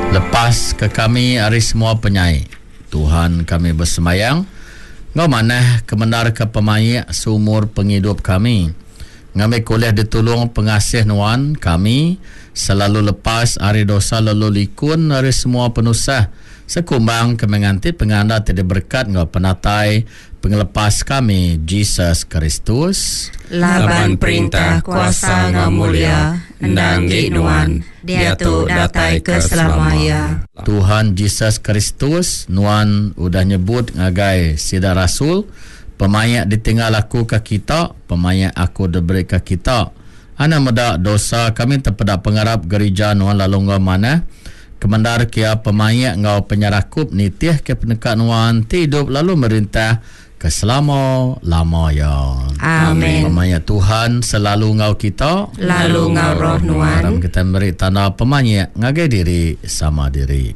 Lepas ke kami ari semua penyai. Tuhan kami besembayang enggau manah kemendarka pemaik seumur pengidup kami. Ngambika ulih ditulung pengasih Nuan, kami selalu lepas ari dosa lalu likun ari semua penusah sekumbang kami nganti penganda ti diberekat enggau penatai Pengelepas kami, Jesus Kristus. Laban perintah, kuasa enggau mulia endang enggi Nuan, diatu datai ke selama iya. Tuhan Jesus Kristus, Nuan udah nyebut ngagai sida rasul, Pemaik ditinggal Aku ke kita, pemaik Aku diberi ke kita. Anang meda dosa kami tepeda pengarap gerija Nuan lalu enggau manah kemendar ke iya pemaik enggau penyerakup nitih ke peneka Nuan ti idup lalu merintah ke selama lama iya. Amen. Pemaik Tuhan selalu enggau kita. Lalu enggau roh nuan. Aram kitai meri tanda pemaik ngagai diri sama diri.